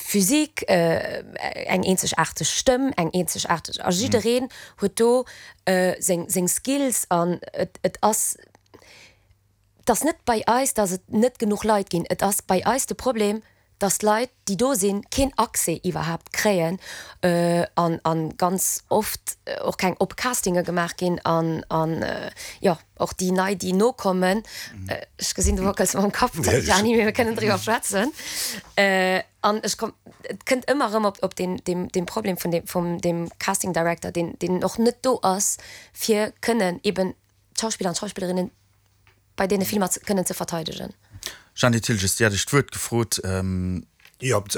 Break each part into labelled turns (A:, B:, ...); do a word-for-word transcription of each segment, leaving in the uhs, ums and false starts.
A: Physique, eng eenzegaarteg Stëmm, eng eenzegaarteg, a jiddereen huet do seng seng Skills an et et ass et ass net bei eis, datt et net genuch Leit ginn, et ass bei eis de Problem, datt d'Leit déi do sinn keen Accès iwwerhaapt kréien an an ganz oft och keng oppe Castinge gemaach ginn an an jo och déi nei déi nokommen, ech gesinn du wackels mam Kapp, Gianni, mee mir kënnen driwwer schwätzen an ech komm et kënnt ëmmer erëm op op deen deem deem Problem vun deem vum deem Casting Director deen deen och net do ass fir kënnen eben d'Schauspiller an d'Schauspillerinnen bei deene Filmer kënnen ze verteidegen.
B: Jeanny Thiltges, Dir hat Iech d'Wuert gefrot.
C: Jo, op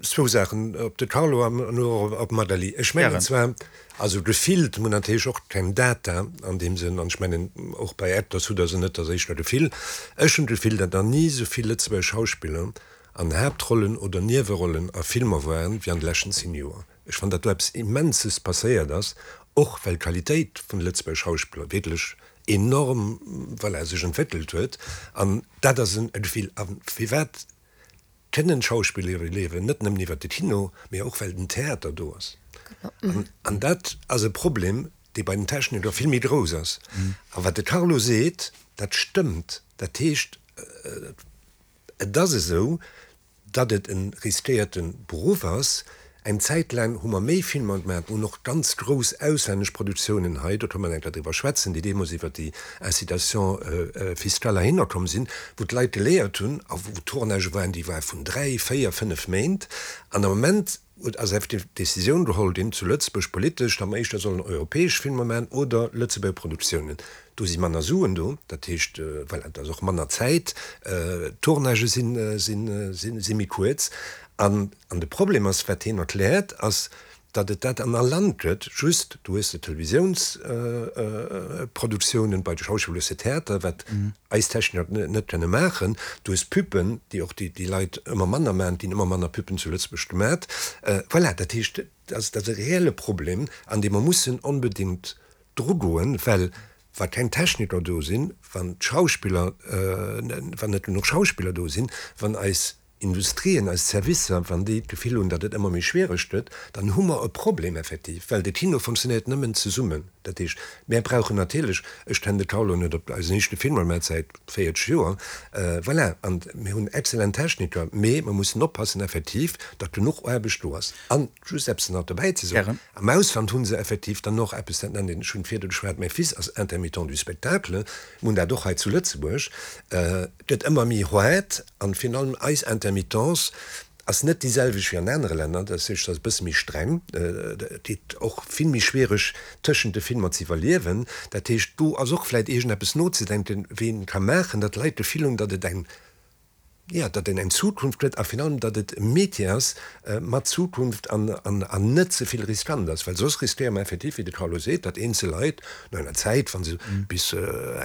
C: zwou Saachen, op de Carlo an och op d'Magali. Ech mengen zwar, also gefillt, mir hunn natierlech och keng Data an deem Sënn, an ech mengen och bei Actors hutt Der se net, dat ass éischter Gefill. Ech hunn d'Gefill, datt nach ni esou vill Lëtzebuerger Schauspiller an Haaptrollen oder Niewerollen a Filmer waren, wéi an de leschten zéng Joer. Ech fannen, datt do eppes Immenses passéiert ass, och well d'Qualitéit vun de Lëtzebuerger Schauspiller wierklech enorm, voilà, sech entwéckelt huet. An dat ass e Gefill. A firwat kënnen Schauspiller iwwerliewen? Net nëmmen iwwert de Kino, mee och well den Theater do ass. An dat ass e Problem, dee bei den Techniker vill méi grouss ass. A wat de Carlo seet, dat stëmmt. Dat heescht, et ass esou, datt et e riskéierte Beruff ass. Eng Zäit laang hu mer méi Filmer gemaach, hunn och ganz grouss auslännesch Produktiounen hei, do kënne mer eng Kéier driwwer schwätzen, déi deemools iwwer déi Incitation fiscale heihinner komm sinn, wou d'Leit geléiert hunn a wou Tournagë waren, déi ware vun dräi, véier, fënnef Méint. An am Moment ass effektiv d'Decisioun geholl ginn zu Lëtzebuerg politesch, datt mer éischter sollen europäesch Filmer maachen oder Lëtzebuerger Produktiounen. Do si manner Suen do, dat heescht, voilà, et ass och manner Zäit, d'Tournagë si méi kuerz. An de Problem ass, wat hien erkläert, ass, datt et dat an all Land gëtt, just du hues de Televisiounsproduktiounen, bei de Schauspiller hues de Theater, wat eis Techniker net kënne maachen, du hues Pubben, déi och déi Leit ëmmer manner maachen, et ginn ëmmer manner Pubben zu Lëtzebuerg gemat. Voilà, dat heescht, dat ass e reelle Problem, an dee mer mussen onbedéngt drugoen, well wa keng Techniker do sinn, wann d'Schauspiller, wann net genuch Schauspiller do sinn, wann eis Industrien, eis Servicer, wann déi d'Gefill hunn, datt et ëmmer méi schwiereg gëtt, dann hu mer e Problem effektiv, well de Kino funktionéiert nëmmen zesummen. Dat heescht, mär brauchen natierlech, ech kennen de Carlo net op eisen éischte Filmer, mä säit véierzeg Joer, voilà, an mir hunn exzellent Techniker, mee mer mussen oppassen effektiv, datt genuch Aarbecht do ass. An just eppes nach dobäi ze soen, Am Ausland hu se effektiv dann och eppes, dat nennt een, ech hunn virdu geschwat, mäi Fils ass Intermittent du spectacle, mir hunn dat och hei zu Lëtzebuerg, et gëtt ëmmer méi haart an virun allem eis Intermittence ass net déi selwecht wéi an anere Länner, dat heescht, et ass e bësse méi streng, et geet och vill méi schwiereg tëschent de Filmer ze iwwerliewen. Dat heescht, do ass och vläicht iergendeppes nozedenken, wéi een ka maachen, datt d'Leit d'Gefill hunn, datt et eng Jo, datt een eng Zukunft huet a virun allem, datt et e Métier ass mat Zukunft an net ze vill riskant ass, well soss riskéiere mer effektiv, wéi de Carlo seet, datt eenzel Leit no enger Zäit, wa se bis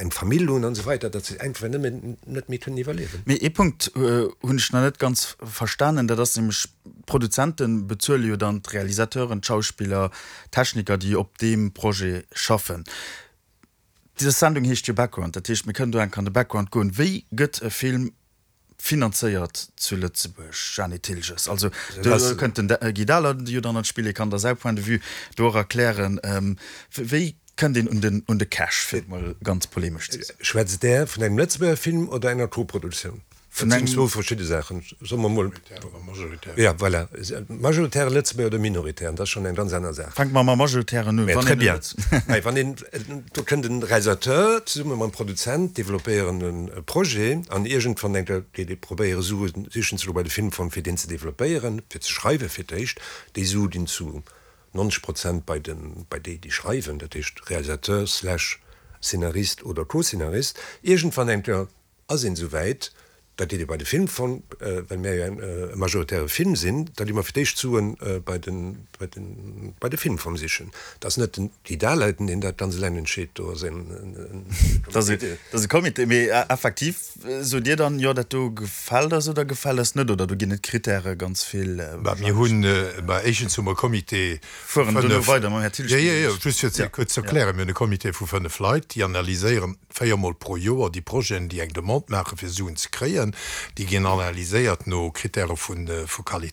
C: eng Famill hunn an esou weider, datt se einfach nëmmen net méi kënnen iwwerliewen.
B: Mee ee Punkt hunn ech nach net ganz verstanen, dat ass nämlech, d'Produzente bezuele jo dann d'Realisateuren, d'Schauspiller, d'Techniker, déi op deem Projet schaffen. Dës Sendung heescht jo Background, dat heescht, mir kënnen do enk an de Background goen. Wéi gëtt e Film finanzéiert zu Lëtzebuerg, Jeanny Thiltges? Also do kënnt den Guy Dahler jo dann an d'Spill, hie kann da säi Point de vue do och erklären. Wéi kënnt een un den, un de Cash, fir et mol ganz polemesch ze soen?
C: Schwätzt Der vun engem Lëtzebuerger Film oder enger Koproduktioun? Dat sinn zwou verschidde Saachen. Soe mer mol. Jo, voilà. Majoritäre Lëtzebuerger oder minoritären, dat ass schonn eng ganz aner Saach.
B: Fänke mer mam Majoritären un.
C: Très bien. Mä wann een, do kënnt en Realisateur zesumme mam Produzent, developpéieren e Projet an iergendwann denkt er, geet ee probéiere Sue sichen ze goe bei de Filmfong, fir deen ze developpéieren, fir ze schreiwe fir d'éischt. Déi Sue ginn zu nonzeg Prozent bei de, bei déi, déi schreiwen, dat heescht Realisateur slash Szenarist oder Co-Szenarist. Iergendwann denkt er, Ass een esou wäit, da geet ee bei de Filmfong, well mär jo e majoritäre Film sinn, da gi mer fir d'éischt d'Suen bei de, bei de, bei de Filmfong sichen. Et ass net den Guy Dahleiten, deen dat ganz eleng entscheet, do ass en
B: Comité. Dat ass e Comité, mee effektiv sot Dir dann, jo dat do gefält eis oder gefält eis net, oder do ginn et Kritäre ganz vill?
D: Mä mir hunn, mä éischtens hu mer e Comité vu
B: Fueren duerno
D: fënnef,
B: weider mam Här Thiltges.
D: jo, jo, jo, just fir ze kuerz ze erklären, mir hunn e Comité vu fënnef Leit, déi analyséieren, véier Mol pro Joer déi Projeten, déi eng Demande maachen, fir Suen ze kréien, déi ginn analyséiert no Kritäre vu Qualitéit.